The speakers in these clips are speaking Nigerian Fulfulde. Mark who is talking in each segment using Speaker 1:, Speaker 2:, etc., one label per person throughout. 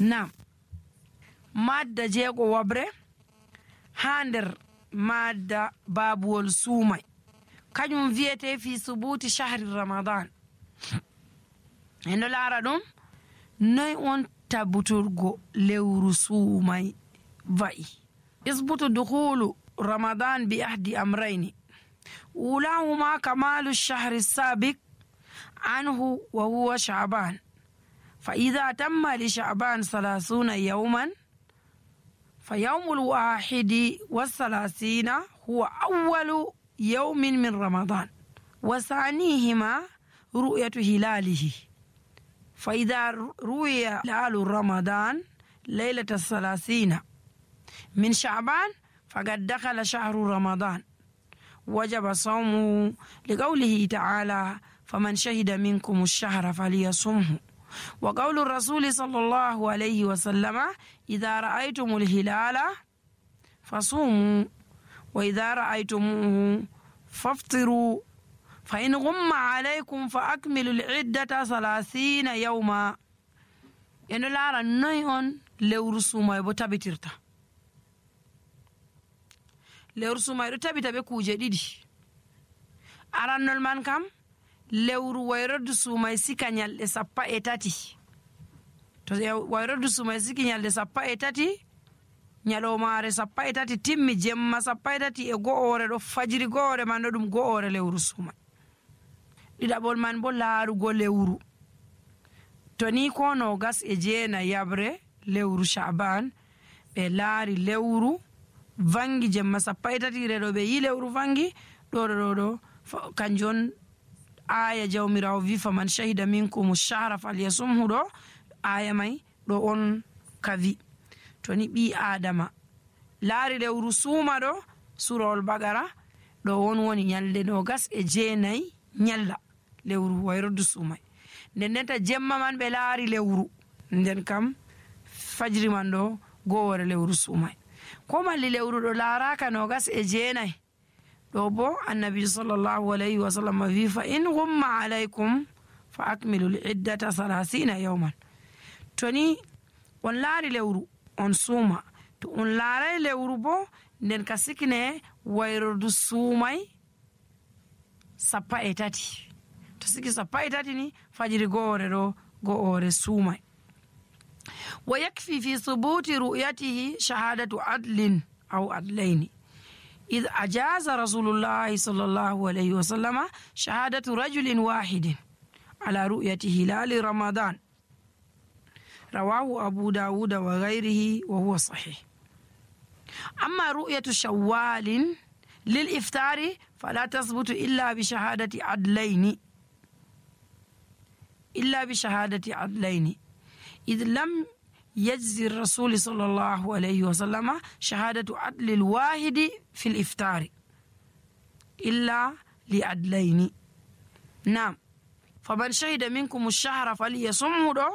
Speaker 1: Nam madda jeego wabre ha nder madda babuwol suumay kañum wiyete fi subuti shahri ramadan. endo laara ɗum noy on tabbuturgo lewru suumay wa'i. isbutu dukhulu ramadan bi ahdi amrayni ulahuma kamalu shahri sabiq anhu wa huwa sha'ban fa idha tamma li sha'ban 30 yawman fa yawmul wahidi wa 30 huwa awwalu yawmin min ramadan wa thanihima ru'yatu hilalihi fa idha ru'ya hilalu ramadan laylata 30 min sha'ban faqad dakhala shahru ramadan wajaba sawmuhu liqawlihi ta'ala faman shahida minkum ash-shahra falyasumhu wa qawlu rasuli sallallahu alayhi wa sallama idha ra'aytumul hilala fasumu wa idha ra'aytumuhu faftiru fa in ghumma alaykum fa akmilul iddata 30 yawma. eno laara noy on lewru suumay bo tabitirta. lewru suumay ɗo tabita be kuuje ɗiɗi. arannol man kam lewru wayroddu suumay sika nyalɗe 13. to wayroddu suumay siki nyalɗe 13 nyalomare 13 timmi jemma 13 e go'ore ɗo fajiri go'ore man ɗo ɗum go'ore lewru suumay. ɗiɗaɓol man bo laarugo lewru to ni ko 29 yabre lewru sha'ban ɓe laari lewru vangi jemma 13 reɗo ɓe yi lewru vangi ɗo kanjon aya jawmirawo wi faman shahida minkum ash-shahra falyasumhu ɗo aya mai ɗo on kavi. to ni ɓi adama laari lewru suuma ɗo surol bagara ɗo on woni nyalde 29 nyalla lewru wayroddu suumay. nden ta jemma man ɓe laari lewru nden kam fajiri man ɗo gowore lewru suumay. ko malli lewru ɗo laaraka 29 ɗo bo annabi sallallahu alayhi wa sallam wi fa in ghumma alaykum fa akmilul iddata 30 yawman. to ni on laari lewru on suuma, to on laaray lewru bo nden ka sikine wayrordu suumay 13. to siki 13 ni fajiri goore ɗo goore suumay. wa yakfi fi thubuti ru'yatihi shahadatu adlin aw adlayni إذ أجاز رسول الله صلى الله عليه وسلم شهادة رجل واحد على رؤية هلال رمضان رواه أبو داود وغيره وهو صحيح. أما رؤية شوال للإفطار فلا تثبت إلا بشهادة عدلين إذ لم يجزي الرسول صلى الله عليه وسلم شهادة عدل الواحد في الإفطار إلا لعدلين. نعم فمن شهد منكم الشهر فليصمه دو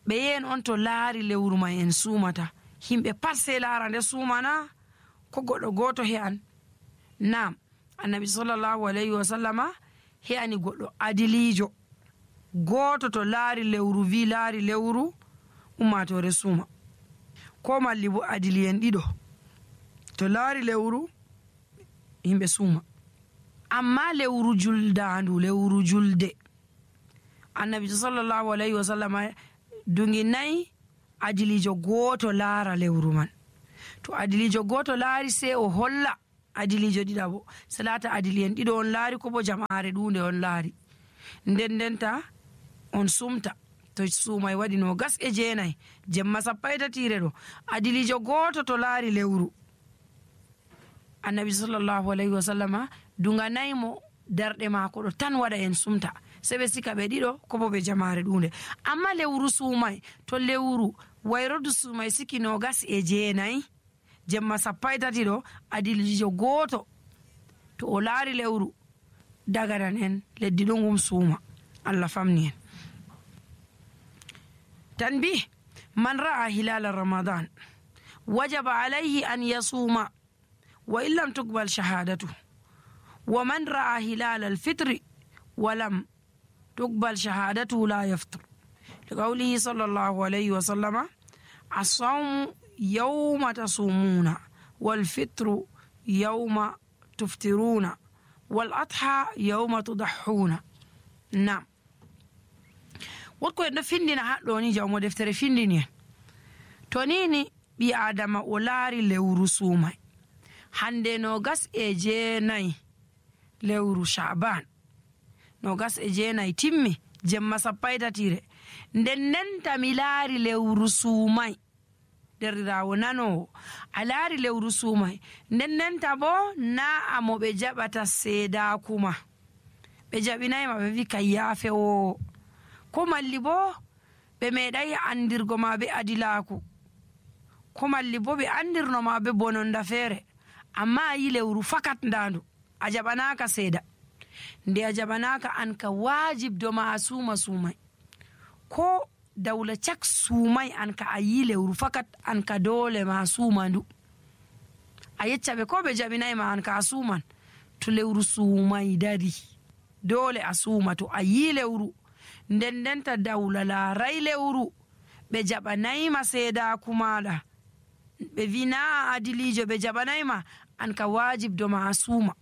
Speaker 1: بين أنتو لاري لورو ما ينسومتا himɓe pat sey laarande suumana ko goɗɗo gooto he'an. nam annabi sallallahu alayhi wa sallama he'ani goɗɗo adiliijo gooto to laari lewru wi laari lewru ummatore suuma, ko malli bo adiliyen ɗiɗo to laari lewru himɓe suuma. amma lewru juldandu lewru julde annabi sallallahu alayhi wa sallama dungi nayi adilijo gooto laara lewru man. to adilijo gooto laari sey o holla adilijo ɗiɗaɓo salata adiliyen ɗiɗo on laari ko bo jama'are ɗunde on laari ndendenta on sumta. to suumay waɗi 29 jemma 13 ɗo adilijo gooto to laari lewru annabi sallallahu alayhi wa sallama dunga naymo darɗe maako ɗo tan waɗa en sumta se ɓe sika ɓe ɗiɗo ko bo ɓe jamare ɗunde. amma lewru suumay to lewru wayrodu suumay siki 29 jemma 13 ɗo adilijo gooto to o laari lewru daganan en leddi ɗo ngum suuma. Allah famni en. tanbih man ra'a hilal ramadan wajaba alayhi an yasuma wa illam tuqbal shahadatu wa man ra'a hilal al-fitr wa lam تقبل شهادته لا يفطر qawlihi sallallahu alayhi wa sallama as-sawmu yawma tasumuna wal fitru yawma tuftiruna wal adha yawma tudahhuna. Nam wotko en ɗo findina haɗɗo ni jawmo deftere findini en to nini ɓi adama o laari lewru suumay hande 29 lewru Sha'ban 29 timmi jemma 30 nden nenta mi laari lewru suumay derrirawo nanowo a laari lewru suumay nden nenta bo na amo ɓe jaɓata seedakuma ɓe jaɓinayma ɓe wi kay yaafewo ko malli bo ɓe meeɗay andirgo ma be adilaku ko malli bo ɓe andirnoma be bononda feere amma a yi lewru fakat ndandu a jaɓanaka seeda nde a jaɓanaka an ka wajibdo ma a suuma suumay ko dawla cak suumay an ka a yi lewru fakat an ka dole ma suuma ndu a yeccaɓe ko ɓe jaɓinayma an ka a suuman to lewru suumay dari dole a suuma to a yi lewru nden ndenta dawla laaray lewru ɓe jaɓanayma seedaku maɗa ɓe wi na adilijo ɓe jaɓanayma an ka wajibdo ma a suuma.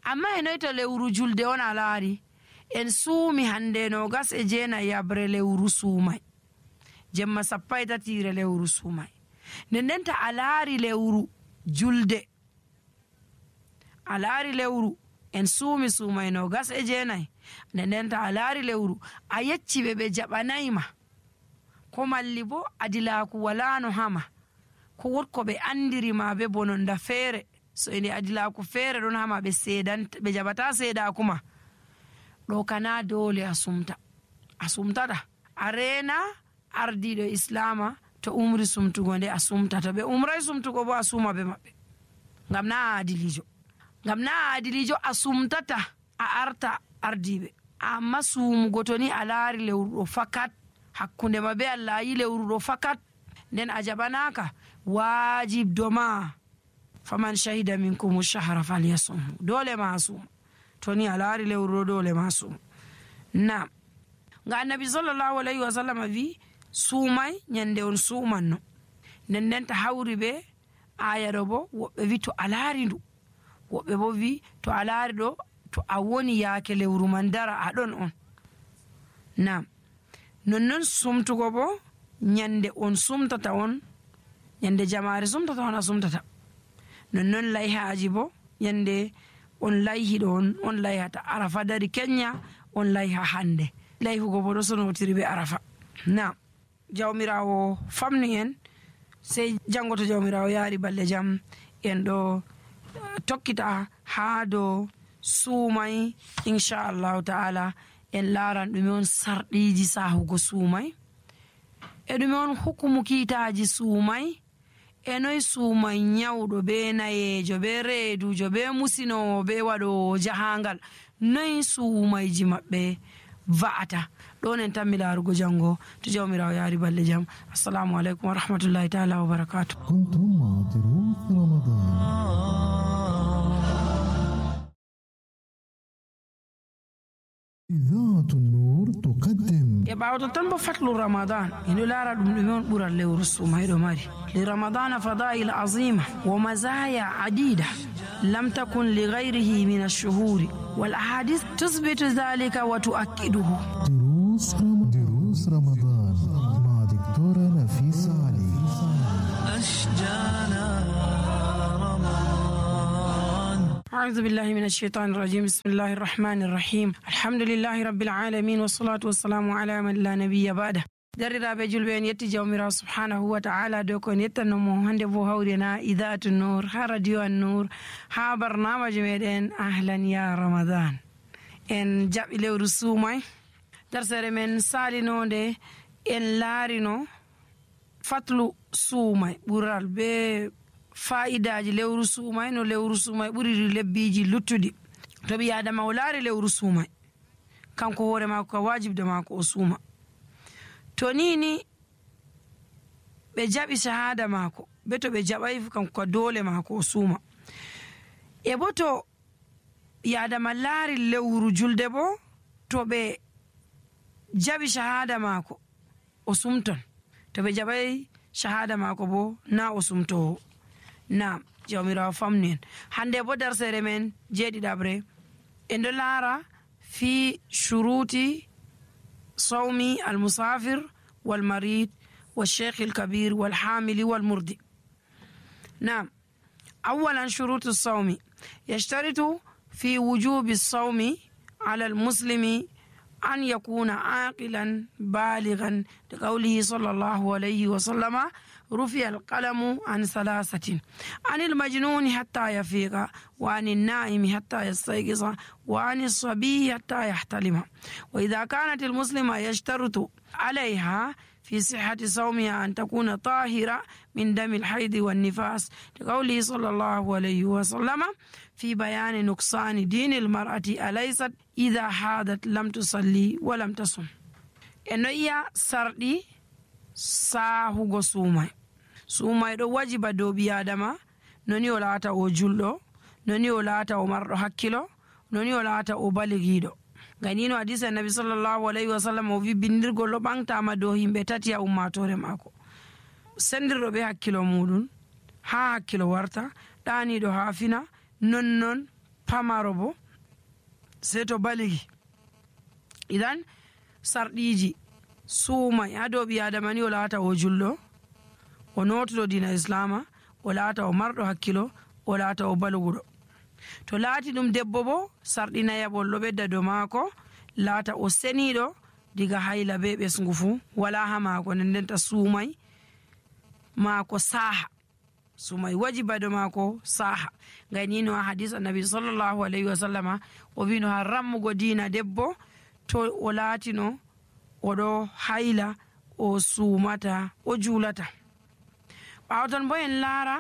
Speaker 1: Amma e noy to lewru julde on a laari en suumi hande 29 yabre lewru suumay jemma 30 lewru suumay nden ndenta a laari lewru julde a laari lewru en suumi suumay 29 nden ndenta a laari lewru a yecci ɓe jaɓanayma ko malli bo adilaku walano hama ko wotko ɓe andirima be bononda feere so ende adilaku feere ɗon hama ɓe jaɓata seedakuma ɗo kana dole a sumtata a reena ardiɗo islama to umri sumtugo nde a sumtata ɓe umray sumtugo bo a suuma be maɓɓe ngam na a adilijo a sumtata a arta ardiɓe amma suumugo to ni a laari lewru ɗo fakat hakkunde ma be Allah a yi lewru ɗo fakat nden a jaɓanaka wajibdo ma faman shahida minkum shahra falyasum dole ma suum to ni a laari lewru ɗo dole ma suum. Nam nga annabi sallallahu alayhi wa sallam wi suumay nyande on suumanno nden ndenta hawri be aya ɗo bo woɓɓe wi to a laari ndu woɓɓe bo wi to a laari ɗo to a woni yaake lewru man dara a ɗon on. Nam nonnon sumtugo bo nyande on sumtata on nyande jamaare sumtata on a sumtata nonnon layhaji bo nyande on layhiɗo on layhata arafa dari kenya on layha hande layhugo bo ɗo sonotiri be arafa. Nam jawmirawo famnu en sey jango to jawmirawo yaari balɗe jam en ɗo tokkita haa dow suumay inchallahu ta'ala en laaran ɗume on sarɗiji sahugo suumay e ɗume on hukumu kiitaji suumay e noy suumay nyawɗo be nayejo be reedujo be musinowo be waɗowo jahangal noy suumayji maɓɓe va'ata ɗon en tammi laarugo jango to jawmirawo yaari balɗe jam. Assalamu aleykum wa rahmatullahi ta'ala wa barakatuh.
Speaker 2: إذاعة النور تقدم
Speaker 1: يبعد تنبو فتل رمضان إنه لا رد مليون برا لورسو ما يدماري لرمضان فضائل عظيمة ومزايا عديدة لم تكن لغيره من الشهور والأحاديث تثبت ذلك وتؤكده.
Speaker 2: دروس رمضان مع دكتورة نفيسة علي.
Speaker 3: أشجانا
Speaker 1: أعوذ بالله من الشيطان الرجيم. بسم الله الرحمن الرحيم. الحمد لله رب العالمين والصلاة والسلام على من لا نبي بعده. درiraɓe julɓe en yetti jawmirawo subhanahu wa ta'ala dow ko en yettannomo hande bo hawrina idatu nour ha radio an nour ha barnamaji meɗen ahlan ya ramadan en jaɓi lewru suumay darsere men salinode en laarino fatlu suumay ɓural be fa'idaji lewru suumay no lewru suumay ɓuri lebbiji luttuɗi to ɓi adama o laari lewru suumay kanko hoore mako ka wajibde mako o suuma to nini ɓe jaɓi shahada mako be to ɓe jaɓay kanko ka dole mako o suuma e bo to ɓi adama laari lewru julde bo to ɓe jaɓi shahada maako o sumton, to ɓe jaɓay shahada maako bo na o sumtowo. Naam, jawmirawo famnu en. Hande bo darsere men jeeɗiɗaɓre en ɗo laara fi shuruti sawmi almusafir walmarid والشيخ الكبير والحامل والمرضع. نعم، أولا شروط الصوم: يشترط في وجوب الصوم على المسلم أن يكون عاقلا بالغا، لقوله صلى الله عليه وسلم: رفع القلم عن ثلاثة: عن المجنون حتى يفيق، وعن النائم حتى يستيقظ، وعن الصبي حتى يحتلم. وإذا كانت المسلمة يشترط عليها في صحة صومها أن تكون طاهرة من دم الحيض والنفاس، لقوله صلى الله عليه وسلم في بيان نقصان دين المرأة: أليست إذا حادت لم تصلي ولم تصم. إنه إيا سردي ساهو سوماي. سوماي دو واجب دو بيادما، نوني ولاتا او جلو، نوني ولاتا او مرد حكيلو، نوني ولاتا او بالغيدو. ganino hadisi annabi sallallahu alaihi wasallam o wi bindirgol ɗo ɓantama dow himɓe tati a ummatore maako: sendirɗo ɓe hakkilo muɗum ha hakkilo warta, ɗaniɗo ha fina, nonnon pamaro bo sei to baligi. idan sarɗiji suumay ha dow ɓi adama ni o laata o julɗo, o notuɗo dina islama, o laata o marɗo hakkilo, o laata o balguɗo. To laati ɗum debbo bo sarɗina yaɓol ɗo ɓedda dow maako, laata o seniɗo diga hayla be ɓesngu fuu wala ha maako, nden ndenta suumay maako saaha, suumay wajiba dow maako saaha. ganino ha hadis annabi sallallahu alaihi wasallama o wino ha rammugo diina debbo to o laatino oɗo hayla o suumata o juulata. ɓawtan bo en laara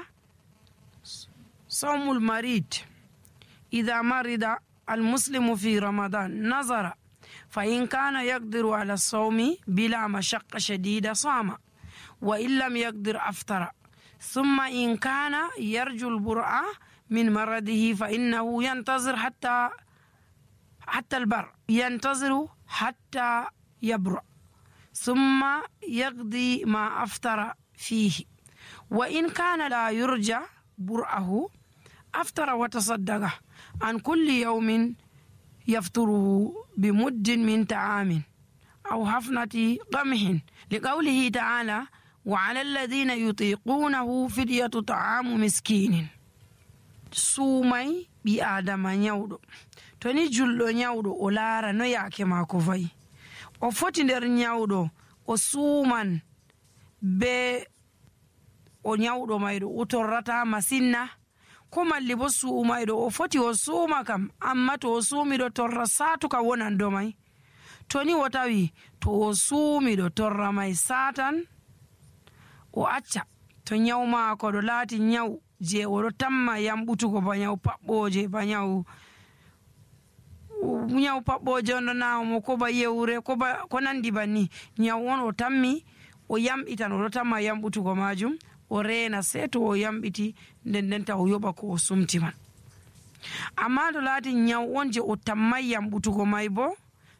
Speaker 1: sawmul marid: إذا مرض المسلم في رمضان نظر فإن كان يقدر على الصوم بلا مشقة شديدة صام، وإن لم يقدر أفطر، ثم إن كان يرجو البرء من مرضه فإنه ينتظر حتى البر، ينتظر حتى يبرأ، ثم يقضي ما أفطر فيه. وإن كان لا يرجى برأه أفطر وتصدق عن كل يوم يفطره بمد من طعام أو حفنة قمح، لقوله تعالى: وعلى الذين يطيقونه فدية طعام مسكين. suumay ɓi adama nyawɗo to ni julɗo nyawɗo o laara no yaake maako fayi, o foti nder nyawɗo o suuman be o nyawɗo mayɗo o torrata masinna, ko malli bo suumayɗo o foti o suuma kam, amma to o suumiɗo torra saatuka wonan do may. to ni o tawi to o suumiɗo torra may satan, o acca to nyaw maako ɗo laati nyaw je oɗo tamma yamɓutugo, ba nyaw paɓɓoje, ba nyaw paɓɓoje on ɗo nawmo, ko ba yewre, ko nandi banni, nyaw on o tammi o yamɓitan, oɗo tamma yamɓutugo majum, o reena sei to o yamɓiti nden ndenta o yoɓa ko o sumti man. amma to laati nyaw on je o tammay yamɓutugo may bo,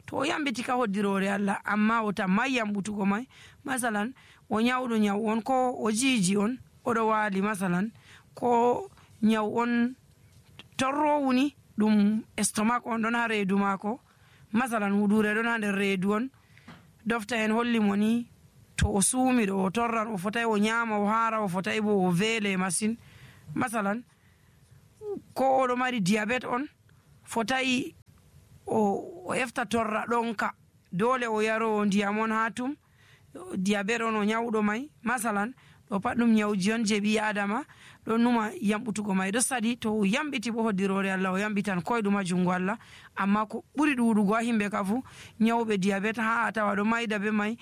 Speaker 1: to o yamɓiti ka hoddirore Allah, amma o tammay yamɓutugo may, masalan o nyawɗo nyaw on, ko o jiiji on oɗo waali, masalan ko nyaw on torrowuni ɗum estomac on ɗon ha reedu maako, masalan huɗure ɗon ha nder reedu on, dofta en holli mo ni to o suumiɗo o torran, o fotay o nyama o haara, o fotay bo o veele masin. masalan ko oɗo mari diabete on, fotay o efta torra ɗonka, dole o yaro ndiyam on ha tum, diabete on o nyawɗo may, masalan ɗo pat ɗum nyawji on je ɓi adama ɗo numa yamɓutugo may ɗo saɗi. to o yamɓiti bo hoddirore Allah, o yamɓitan koyɗum ha jungo Allah. amma ko ɓuri ɗuɗugo ha himɓe ka fu, nyawɓe diabete ha a tawa ɗo mayda be may,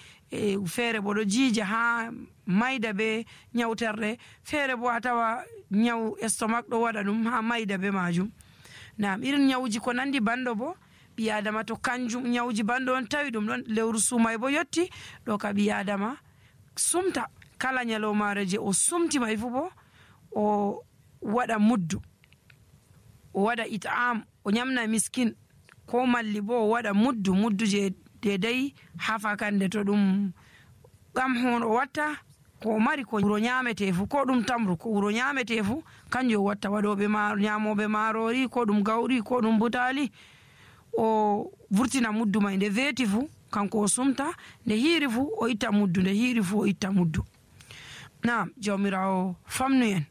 Speaker 1: feere bo ɗo jiija ha mayda be nyawterɗe, feere bo a tawa nyaw estomac ɗo waɗa ɗum ha mayda be majum. nam irin nyawji ko nandi banɗo bo ɓi adama to kanjum nyawji banɗo on tawi ɗum ɗon lewru suumay bo yetti, ɗo ka ɓi adama sumta kala nyalomare je o sumti may fu bo o waɗa muddu, o waɗa it'am, o nyamna miskin, ko malli bo o waɗa muddu je dedai ha fakande to ɗum hon o watta ko mari ko wuro nyametefu ko ɗum tamru ko wuro nyametefu kanjum o watta. waɗoɓe nyamoɓe marori ko ɗum gawri ko ɗum butali o vurtina muddu mai nde veti fu kanko o sumta, nde hiiri fu o itta muddu, nde hiiri fu o itta muddu. Naam, jawmirawo famnu en.